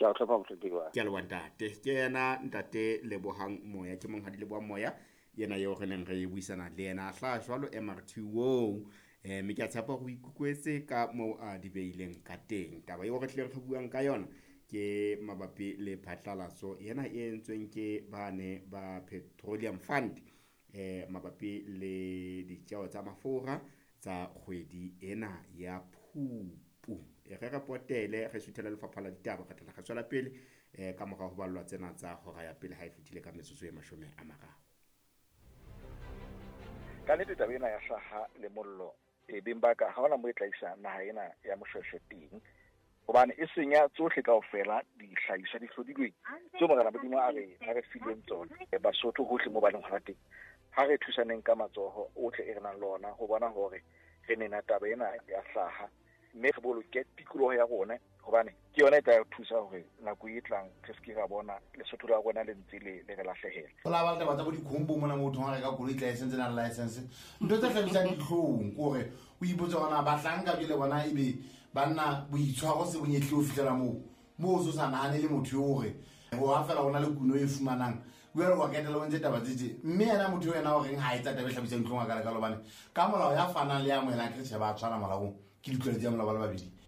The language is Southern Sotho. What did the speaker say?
Ke a o tlhopha mohlomphegi wa. Ke a leboha ntate. Ke yena ntate Lebohang Moya, ke monghadi Lebohang Moya yena eo re neng re buisana le yena a hlaha jwalo MRT oo. Mme ke a tshepa hore o ikutlwetse ka moo a di beileng ka teng. Taba eo re tlileng re buang ka yona ke mabapi le phatlalatso ena e entsweng ke bane ba Petroleum Fund mabapi le ditjeo tsa mafura tsa kgwedi ena ya Phupu. E re re potele re suthele lefapha la ditaba, re tla re tswela pele ka mora ho ballwa tsena tsa hora ya pele ha e fetile ka metsotso e 30. Ka nnete taba ena ya hlaha le mollo e beng ba ka ha hona mo e tla isa naha ena ya Moshweshwe teng, hobane e senya tsohle kaofela dihlahiswa di hlodilweng tseo Morena Modimo a re fileng tsona. Basotho hohle mo ba leng hona teng, ha re thusaneng ka matsoho ohle e re nang le ona ho bona hore re nena taba ena ya hlaha, mme re boloke tikoloho ya rona, hobane ke yona e tla re thusa hore nako e tlang re se ke ra bona Lesotho la rona le ntse le re lahlehela. Ho la ba le taba tsa bo dikhombo mona mo thong a reka koloi tla e sentse nang license. Ntho tse hlabisang dihlong ke hore o ipotse hore na bahlanka jwale bona ebe banna boitshwaro se bonyetlile ho fihlela moo, moo o so sa nahane le motho eo hore ho ha fela ho na le kuno e fumanang. Jwale wa ketela o ntse taba tse tje. Mme yena motho eo yena o reng ha etsa taba e hlabisang dihlong a ka lekalo, hobane ka molao ya fanang le ya amohelang ke re tjhe ba tshwana molaong, ke ditlwaelo tsa molao ba le babedi.